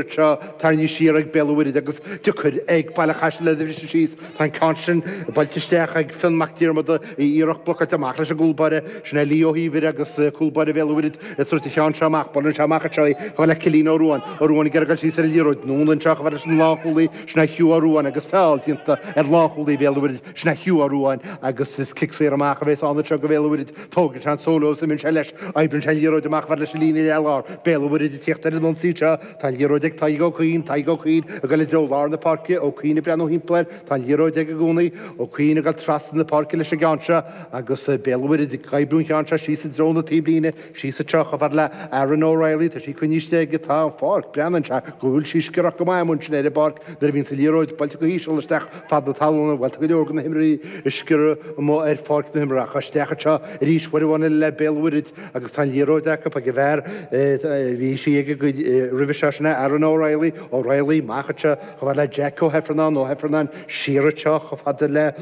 Anseo, tarraingthe siar ag Béal an Mhuirthead agus deacair ag Baile an Chaisil iad a bhriseadh síos. Tá an ceann sin buailte isteach ag Fionn Mac Diarmada, iarracht blocáilte amach leis an gcúl báire. Sin é Leo Ó hÍomhair agus cúl báire Bhéal an Mhuirthead ag tabhairt an cheann seo amach. Buaileann sé amach anseo í chomh fada le Cillian Ó Ruáin. Ó Ruáin ag iarraidh dul síos ar an liathróid. Anonn anseo chomh fada leis an lánchúlaí. Sin é Hugh Ó Ruáin agus feall déanta ar lánchúlaí Bhéal an Mhuirthead. Sin é Hugh Ó Ruáin agus is cic saor amach a bhéas ann anseo do Bhéal an Mhuirthead. Tógann sé an solo is imíonn sé leis. Oibríonn sé an liathróid amach chomh fada leis an líne leath-lár. Béal an Mhuirthead ag tíocht ar an ionsaí anseo. Tá an liathróid ag Tadhg Ó Cuinn. Tadhg Ó Cuinn ag dul i dtreo lár na páirce. Ó Cuinn ag breathnú thimpeall air. Tá an liathróid aige i gcónaí. Ó Cuinn ag dul trasna na páirce leis an gceann seo agus Béal an Mhuirthead ag oibriú an cheann seo síos i dtreo na taobhlíne. Síos anseo chomh fada le Aaron O'Reilly. Tá sí coinnithe istigh aige. Tá an pháirc, breathnaíonn sé go bhfuil sí sciorrach go maith amuigh ansin ar an bpáirc nuair a bhíonns an liathróid buailte go híseal isteach fad na talún. Bhuel, tá go leor de na himreoirí ag sciorradh amuigh ar pháirc na himeartha ach isteach anseo arís uair amháin eile le Béal an Mhuirthead agus tá an liathróid acu ag an bhfear a bhí sí aige roimhe seo, sin é Aaron O'Reilly, O'Reilly amach anseo chomh fada le Jack Ó hEifearnáin, Ó hEifearnáin siar anseo chomh fada le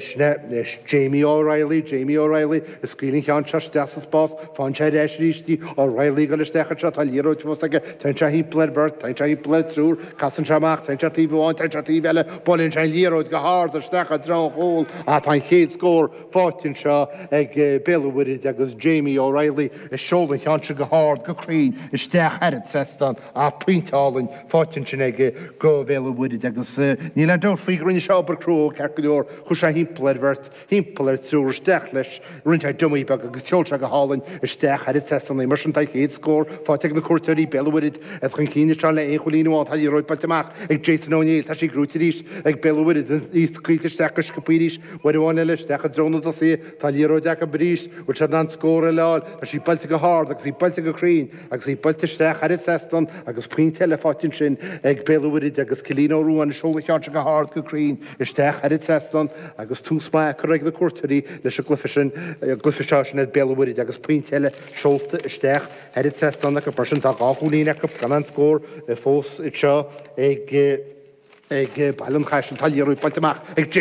sin é Jamie O'Reilly, Jamie O'Reilly ag scaoileadh an cheann seo isteach sa spás, faigheann sé ar ais arís í, O'Reilly ag dul isteach anseo, tá an liathróid fós aige, téann sé thimpeall ar bheirt, téann sé thimpeall ar triúr, Casann sé amach, téann sé taobh amháin, téann sé taobh eile, buaileann sé an liathróid go hard isteach i dtreo an chúil ach tá an chéad scór faighte anseo ag Béal an Mhuirthead agus Jamie O'Reilly ag seoladh an cheann sin go hard, go cruinn isteach thar an trasnán ach pointe álainn faighte ansin aige go Bhéal an Mhuirthead agus níl aon dabht faoi go rinne sé obair crua ceart go leor, chuaigh sé thimpeall ar bheirt. Thimpeall ar triúr isteach leis, rinne sé dummy beag agus sheol sé go hálainn isteach thar an trasnán í. Mar sin tá an chéad scór faighte ag na cuairteoirí, Béal an Mhuirthead, iad chun cinn anseo le aon chúilín amháin. Tá an liathróid buailte amach ag Jason Ó Néill. Tá sí gnóite arís ag Béal an Mhuirthead. Í scaoilte isteach go sciobtha arís. Uair amháin eile isteach i dtreo na dtosaithe. Tá an liathróid acu arís. Bhfuil siad in ann scór eile a fháil? Tá sí buailte go hard agus í buailte go cruinn agus í buailte isteach thar an trasnán agus pointe eile faighte ansin ag Béal an Mhuirthead agus Cillian Ó Ruáin ag seoladh an cheann seo go hard go cruinn isteach thar an trasnán agus tús maith curtha ag na cuairteoirí leis an gcluiche sin, an gcluiche seo, sin iad Béal an Mhuirthead agus pointe eile seolta isteach thar an trasnán acu. Mar sin tá 2 chúilín acu gan aon scór fós anseo ag ag Baile an Chaisil. Tá liathróid buailte amach ag Jason.